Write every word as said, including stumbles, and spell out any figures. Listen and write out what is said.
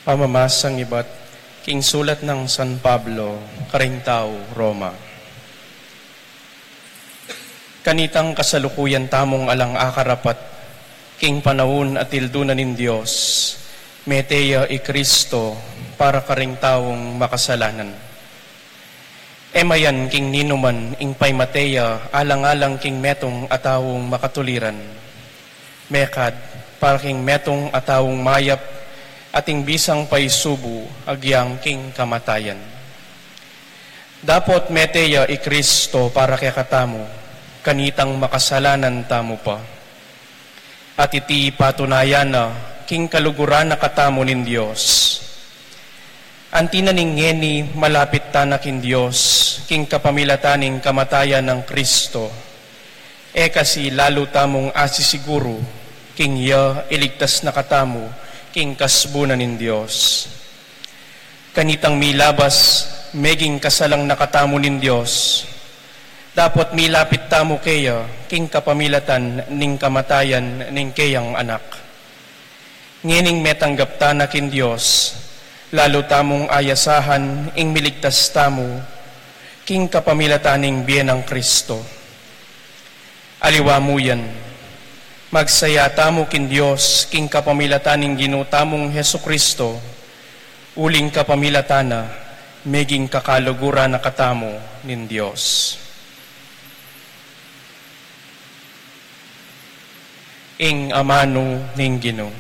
Pamamasang ibat king sulat nang San Pablo karing tau Roma. Kanitang kasalukuyan tamung alang akarapat king panaun a tildunan ning Dios, mete ya i Kristo para karing taung makasalanan. E mayan king ninuman ing paimate ya alang-alang king metung a taung makatuliran, mekad para king metung a taung mayap at ing bisang paisubu agyang king kamatayan. Dapot mete ya i Kristo para kekatamu, kanitang makasalanan tamu pa. At iti patunayan na king kaluguran na katamu ning Dios. Anti na ning ngeni malapit tana king Dios, king kapamilatan ning kamatayan nang Kristo. E kasi lalu tamung asisiguru, king ya iligtas na katamu, king kasbu na ning Dios. Kanitang milabas, meging kasalang na katamu ning Dios. Dapot milapit tamu keya, king kapamilatan ning kamatayan ning keyang Anak. Ngening metanggap tana king Dios, lalu tamung ayasahan ing miligtas tamu, king kapamilatan ning bie nang Kristo. Aliwa mu yan, magsaya tamu king Dios, king kapamilatan ning Ginu tamung Jesu Kristo, uling kapamilatan na, meging kakaluguran na katamu ning Dios. Ing amanu ning Ginu.